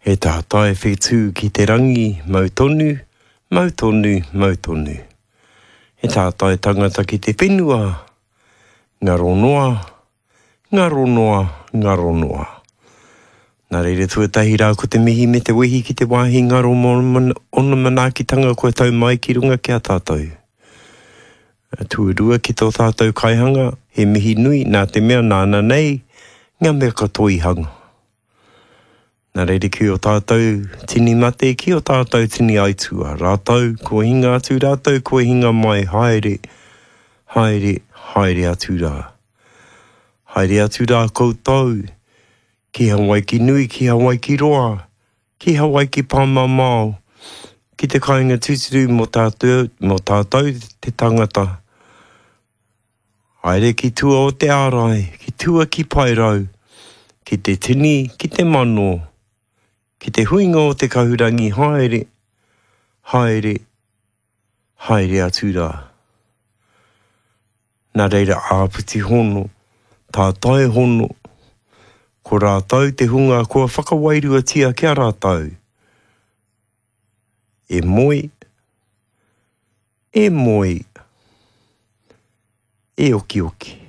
He tātai whetū ki te rangi, mau tonu, mau tonu, mau tonu. He tātai tangata ki te whenua, ngaro noa, ngaro noa, ngaro noa. Nā reira tuatahi rā ko te mihi me te wehi ki te wāhi ngaro mō ōna manaakitanga kua tau mai ki runga ki a tātou. Tuarua ki tō tātou kaihanga, he mihi nui nā te mea nāna nei ngā mea katoa i hanga. Nā reira ki ō tātou tini mate, ki ō tātou tini aituā, rātou kua hinga atu, rātou kua hinga mai, haere, haere, haere atu rā. Haere atu rā koutou, ki Hawaiki nui, ki Hawaiki roa, ki Hawaiki pāmamao, ki te kāinga tūturu mō tātou, mō tātou te tangata. Haere ki tua o te ārai, ki tua ki Paerau, ki te tini, ki te mano, ki te huinga o te kahurangi haere, haere, haere atu rā. Nā reira āpiti hono, tātai hono, ko rātou te hunga kua whakawairuatia ki a rātou. E moe, E moe, e okioki.